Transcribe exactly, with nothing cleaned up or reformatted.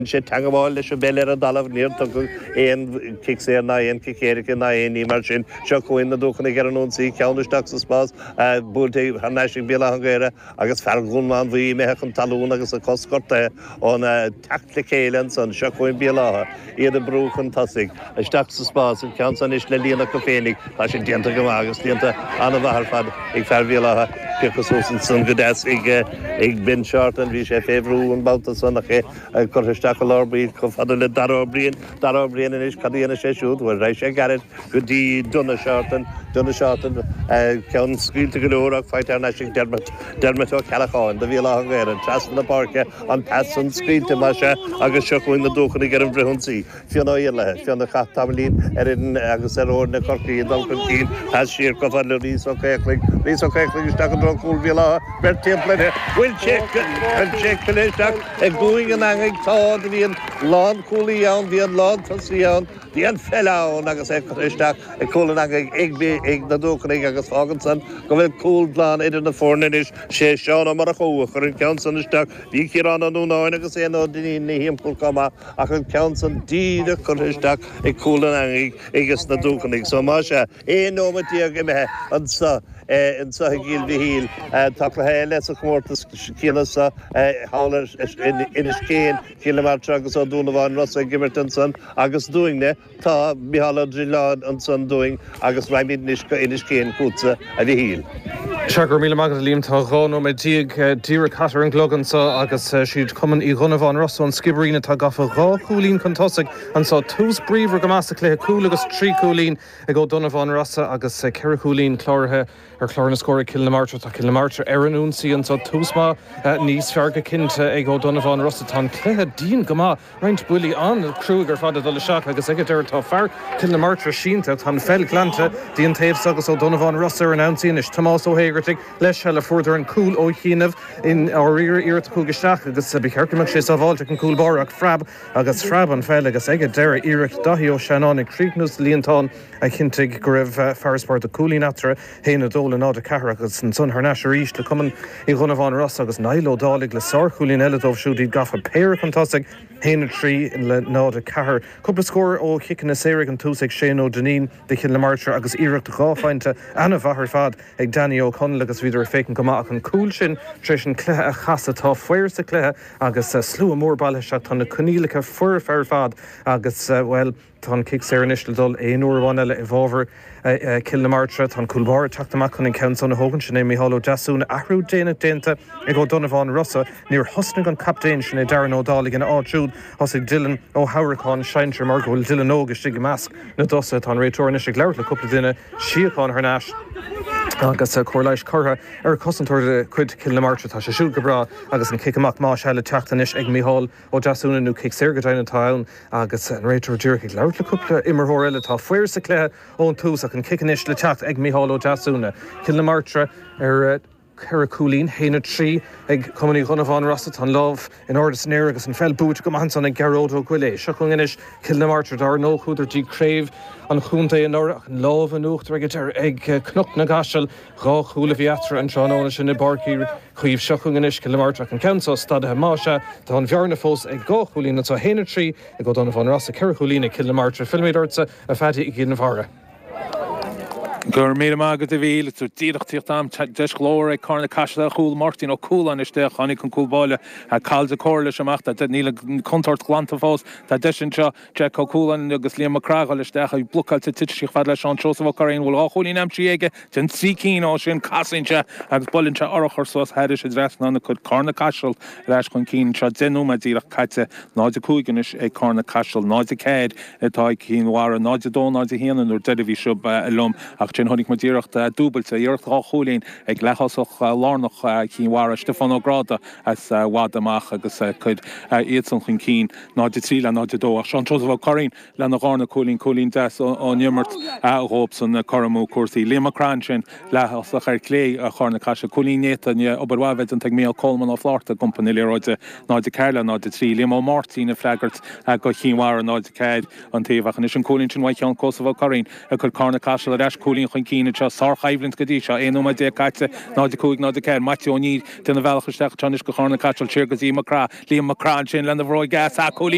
sé teagmháil leis an bpeil ar an dtalamh, níor tugadh aon chic saor ná aon chic éirice ná aon ní mar sin. Seo chugainn na Dúchanaigh ar an ionsaí, ceann isteach sa spás, buailte thar n-ais ag Béal Átha an Ghaorthaidh agus fear Dhún Mánmhaí imithe chun talún agus a cos gortaithe ón teacht le chéile ansan. Seo chugainn Béal Átha, iad ag brú chun tosaigh, isteach sa spás, an ceann san anois le líonadh acu féinig. Tá sin déanta go maith agus déanta an-mhaith ar fad ag fear Bhéal Átha. Pioctha suas ansan go deas ag ag Ben Shorten, bhí sé fé bhrú an babhta san ach é curtha isteach i lár baill chomh fada le Dara Ó Briain. Dara Ó Briain anois, cad a dhéanfaidh sé siúd? Bhuel, raghaidh sé gairid go dtí Donagh Shorten. Donagh Shorten, ceann scaoilte go leor ach faighte thar n-ais ag Dermot, Dermot Ó Ceallacháin do Bhéal Átha an Ghaorthaidh. Trasna na páirce, an pas san scaoilte, más ea, agus seo chugainn na Dúchanaigh ar an bhfrithionsaí. Fionn Ó Iarlaithe, Fionn a chaith tamaillín ar fhoireann agus ar fhoirne Chorcaí ag dul chun cinn, pas siar chomh fada le Rhys Ó Caochlaigh, Rhys Ó Caochlaigh isteach i dtreo chúl Bhéal Átha, beirt timpeall uirthi, bhfuil sé, bhfuil sé curtha isteach i gcúinne an eangaigh, tá, do bhí an lánchúlaí ann, bhí an lántosaí ann, bhí an pheil ann agus é curtha isteach i gcúl an eangaigh ag, ag na Dúchanaigh agus fágann san go bhfuil cúl glan idir na foirne anois, sé Seán Ó Murchú a chuir an ceann san isteach, bhí Ciarán Ó Núnáin agus Éanna Ó Duinnín ina thimpeall chomh maith ach an ceann san díreach curtha isteach i gcúl an eangaigh aiges na Dúchanaigh. So más ea, aon nóiméad déag imithe anseo anseo i gCill Mhichíl. Tá cluiche eile sa chomórtas céanna seo thall ar Inis Céin, Cill na Martra agus Ó Dúnabháin Rosa ag imirt ansan agus dúinne tá Micheál Ó Drisleáin ansan dúinn agus raghaimid anois go Inis Céin chugatsa a Mhichíl. Sea, go raibh míle maith agat a Liam. Tá dhá nóiméad déag díreach caite ar an gclog anseo agus siad Cumann Uí Dhonnabháin Rosa ón Sciobairín atá gafa dhá chúilín chun tosaigh anseo. Tús bríomhar go maith sa chluiche, cúl agus trí chúilín ag Ó Donnabháin Rosa agus ceithre chúilín cláraithe ar chlár na scór ag Cill na Martra. Tá Cill na Martra ar an ionsaí anseo. Tús maith níos fearr go cinnte ag Ó Donnabháin Rosa. Tá an cluiche dian go maith, roinnt buillí an-chruaidh ar fad ag dul isteach agus ag an deireadh tá fear Cill na Martra sínte. Tá an pheil glanta dtí an taobh seo agus Ó Donnabháin Rosa ar an ionsaí anois. Tomás Ó hÉigeartaigh leis seilbh fuaireadar an cúl ó chianaibh in áiríre iarracht a chuaigh isteach agus ba cheart go mbeadh sé sábháilte ag an gcúl báire ach phreab agus phreab an pheil agus ag an deireadh iarracht Daithí Ó Seanáin ag críochnú sa líontán a chinntigh go raibh farasbarr de chúilín eatarthu, haon a dó le náid a ceathair agus ansan thar n-ais arís le Cumann Uí Dhonnabháin Rosa agus Niall Ó Dálaigh le sárchúilín eile dóibh siúd iad gafa péire chun tosaigh, haon a trí le náid a ceathair. Cúpla scór ó chiceanna saora ag an tús ag Shane Ó Duinnín do Chill na Martra agus iarracht dhá phointe an-mhaith ar fad ag Danny Ó Conaill agus bhíodar ag féachaint go maith ach an cúl sin tar éis an cluiche a chasadh. Tá faobhar sa chluiche agus slua mór bailithe isteach. Tá na coinníollacha foirfe ar fad agus, bhuel, tá an cic saor anois le dul aon uair amháin eile i bhfabhar Chill na Martra. Tá an cúl báire ag teacht amach chun an ceann san a thógaint, sin é Micheál Ó Deasúna. Athrú déanach déanta ag Ó Donnabháin Rosa. Níor thosnaigh an captaen, sin é Darren Ó Dálaigh, ina áit siúd. Thosaigh Dylan Ó hAmhracáin, sinsear, mar go bhfuil Dylan óg istigh i measc na dtosaithe. Tá an réiteoir anois ag labhairt le cúpla duine. Síocháin thar n-ais agus cóir leighis curtha ar chosantóir de chuid Chill na Martra. Tá sé siúd go breá agus an cic amach más ea le teacht anois ag Micheál Ó Deasúna nó cic saor go deimhin atá ann agus an réiteoir díreach ag labhairt le cúpla imreoir eile. Tá faobhar sa chluiche ón tús ach an cic anois le teacht ag Micheál Ó Deasúna. Cill na Martra ar ceithre chúilín, haon a trí ag Cumann Uí Dhonnabháin Rosa. Tá an lámh in airde san aer agus an pheil buaite go maith ansan ag Gearóid Ó Goillé. Seo chugainn anois Cill na Martra. Dar ndóigh chuadar dtí craobh an chontae anuraidh ach an lámh in uachtar ag ag Cnoc na gCaiseal. Dhá chúl a bhí eatarthu an tráthnóna sin i bPáirc Uí Chaoimh. Seo chugainn anois Cill na Martra ach an ceann seo stadaithe. Más ea, tá an bhearna fós ag dhá chúilín anseo, haon a trí ag Ó Donnabháin Rosa, ceithre chúilín ag Cill na Martra. Fillfimid ortsa, a Phaddy, i gCill Mhara. Go raibh míle maith agat a Mhíchíl. Is díreach tíocht am deis ghlór ag Carna Caiseal ar chúl Máirtín Ó Cualáin isteach. Tháinig an cúl báire Cathal de Cóir leis amach. Tá níl an chontúirt glanta fós. Tá deis anseo Jack Ó Cualáin agus Liam Mac Craith dul isteach ag blocáilte tite sí fad le Seán Seosamh Ó Curraoin. Bhfuil dhá chúilín aimsithe aige den trí cinn ó sin casann sé agus buaileann sé urchar suas thairis an dtrasnán ag cur Carna Caiseal ar ais chun cinn anseo. Deich nóiméad díreach caite. náid a cúig anois ag Carna Caiseal. náid a ceathair atá ag Cinn Mhara. náid a dó, náid a haon an uair deiridh bhí seo liom ach sin chonaic muid iarracht dúbailte, iarracht dhá chúilín ag leath-thosach lárnach Chinn Mhara, Stiofán Ó Gráda as i bhfad amach agus cuir iadsan chun cinn náid a trí le náid a dó ach Seán Seosamh Ó Curraoin lena dharna cúilín, cúilín deas ón imirt dhóibhsan cur amú cúrsaí. Liam Mac Craith ansin leath-thosach ar chlé Charna Caiseal, cúilín néata, obair mhaith a bheith déanta ag Mícheál Coleman Ó Flátharta ag iompar na liathróide náid a ceathair le náid a trí. Liam Ó Máirtín ag freagairt do Chinn Mhara náid a ceathair an taobh ach anois an cúilín sin uaidh Sheán Seosamh Ó Curraoin ag cur Carna Caiseal ar ais cúilín chúilín chun cinn anseo. Sárchoimhlint go dtí seo, aon nóiméad déag caite, náid a cúig, náid a ceathair. Maitiú Ó Neill ag déanamh a bhealach isteach anseo anois go Carna Caiseal, siar go dtí Mac Craith. Liam Mac Craith ansin lena bhróig dheas, cúilín.